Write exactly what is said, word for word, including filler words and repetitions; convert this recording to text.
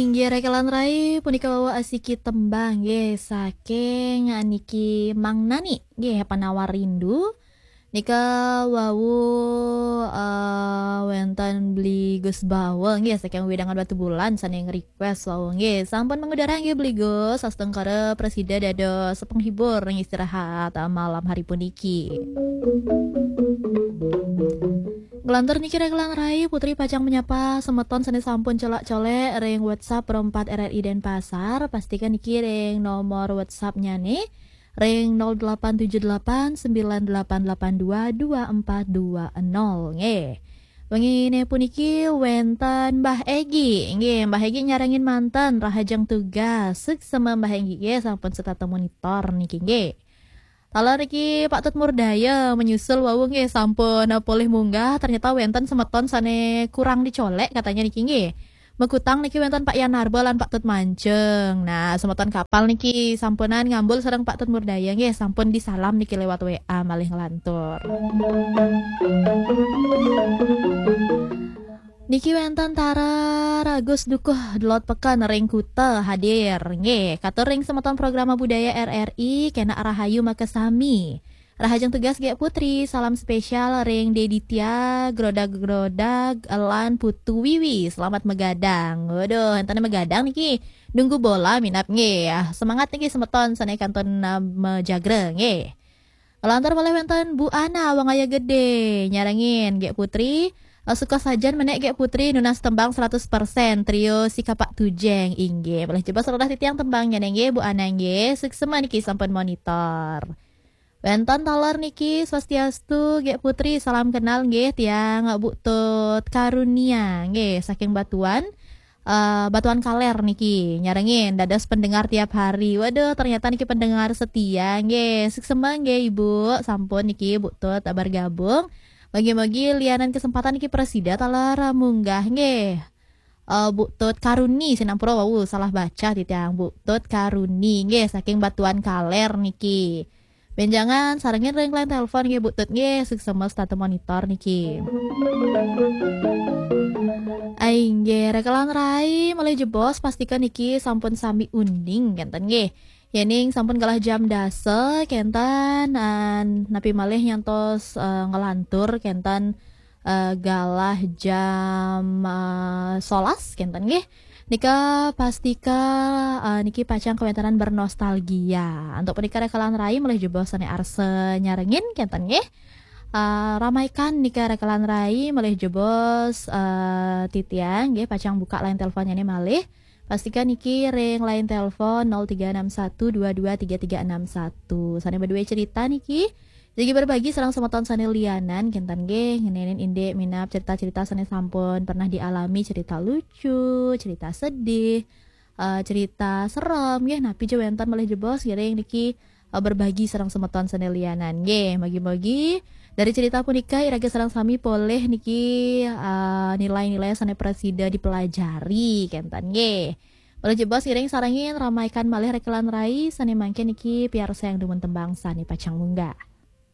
Inggih rekelan rai, punika wau asiki tembang nggih saking niki Mang Nani nggih, Penawar Rindu. Nika wau eh, wenten Bli Gus Bawa nggih saking wewidangan Batubulan sane nge-request wau nggih. Sampun mengudara nggih Bli Gus, astungkara prasida dados penghibur ring istirahat eh, malam hari puniki. Nglantur niki rekelan rai, Putri pacang menyapa semeton sane sampun colak-colek ring WhatsApp Pro empat R R I Denpasar. Pastikan niki ring nomor WhatsApp-nyane ring nol delapan tujuh delapan sembilan delapan delapan dua dua empat dua nol nggih. Wengine puniki wenten Mbah Egi. Nggih, Mbah Egi nyarengin manten, rahajeng tugas. Suksema Mbah Egi nggih, sampun setata monitor niki nggih. Taler niki Pak Tut Murdaya menyusul wau nggih, sampun polih munggah, ternyata wenten semeton sane kurang dicolek katanya niki nggih. Megutang niki wenten Pak Yan Narba lan Pak Tut Manceng. Nah, semeton kapal niki sampunan ngambul sareng Pak Tut Murdaya nggih, sampun disalam niki lewat W A malih nglantur. Niki wenten Tara Ragus Dukuh Delot Peken ring Kuta hadir. Nggih, katur ring semeton programa budaya R R I, kena rahayu makasami. Rahajeng tugas Gek Putri, salam spesial ring Deditya, Grodag-Grodag, lan Putu Wiwi. Selamat megadang. Waduh, entane megadang niki. Nunggu bola minap nggih. Semangat niki semeton sane kantun uh, mejagra nggih. Lantar malih wenten Bu Ana, Wangaya Gede, nyarengin Gek Putri. Eh, suka sajan menek Gek Putri nunas tembang seratus persen trio si Kapak Tujeng inggih. Malih jebos rodah titiang tembangnya nggih Bu Ana nggih. Suksema niki sampun monitor. Wenten taler niki, swastiastu Gek Putri, salam kenal nggih tiang Bu Tut Karunia nggih saking Batuan. Eh, Batuan Kaler niki nyarengin dados pendengar tiap hari. Waduh, ternyata niki pendengar setia nggih. Suksema nggih Ibu, sampun niki Bu Tut bergabung. Mogi-mogi lianan kesempatan niki prasida taler munggah nggih. Eh, Bu Tut Karuni, sinampura wau salah baca titiang, Bu Tut Karuni nggih saking Batuan Kaler niki. Benjangan sarengin ring line telepon nggih Bu Tut nggih, suksema setata monitor niki. Ai nggih, rekelan rai malih jebos, pastikan niki sampun sami uning kenten nggih. Yening sampun galah jam dasa kenten, an, napi malih nyantos eh, ngelantur kenten eh, galah jam eh, solas kenten nggih. Nika pastika eh, niki pacang kawentanan bernostalgia. Antuk punika rekelan rai malih jebos sane arsa nyarengin kenten nggih. Eh, ramaikan nika rekelan rai malih jebos eh, titiang nggih, pacang buka line teleponnya nih malih. Pastikan niki ring line telepon nol tiga enam satu dua dua tiga tiga enam satu. Sane badue cerita niki. Jagi berbagi sareng semeton sane lianan kenten nggih, ngenenin indik minap cerita-cerita sane sampun pernah dialami, cerita lucu, cerita sedih, eh, cerita serem nggih, napi ja wenten malih jebos ngiring niki eh, berbagi sareng semeton sane lianan nggih. Mogi-mogi dari cerita punika iraga sareng sami polih niki eh, nilai-nilai sane prasida dipelajari kenten nggih. Malih jebos ngiring sarengin ramaikan malih rekelan rai sane mangkin niki piarsayang dumun tembang sane pacang munggah.